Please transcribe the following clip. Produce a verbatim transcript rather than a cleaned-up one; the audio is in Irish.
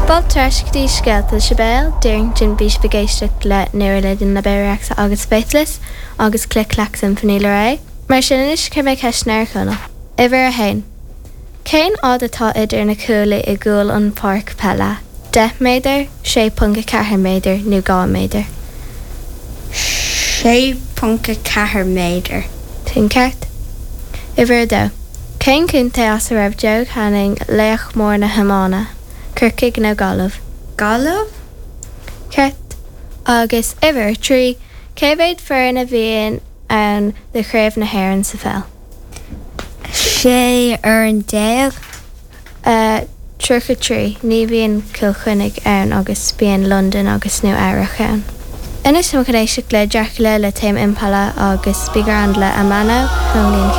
Fáilte ar ais go dtí Scéalta Sibéal Darrington bhí sibh ag éisteacht le Neuralidin le Bebe Rexha agus Faithless agus Click Clack Symphony le Raye. Mar sin anois cuirfidh mé ceisteanna ar Chonall. Uimhir a haon. Cén fhad atá idir na cuaillí i gcúl an pháirc peile? Deich méadar, sé ponc a ceathair méadar nó dhá méadar. Sé ponc a ceathair méadar. Sin ceart. Uimhir a dó. Cén contae as a raibh Joe Canning laoch mór na hiomána? Corcaigh nó Gaillimh? Gaillimh? Ceart. Agus uimhir a trí. Cé mhéad foireann a bhíonn ann do chraobh na hÉireann sa pheil? Sé fhoireann déag. Tríocha trí. Ní bhíonn Cill Chainnigh ann agus bíonn Londain agus Nua Eabhrac ann. Anois táimid chun éisteacht le Dracula le Tame Impala agus Big Round le Amano ón mbliain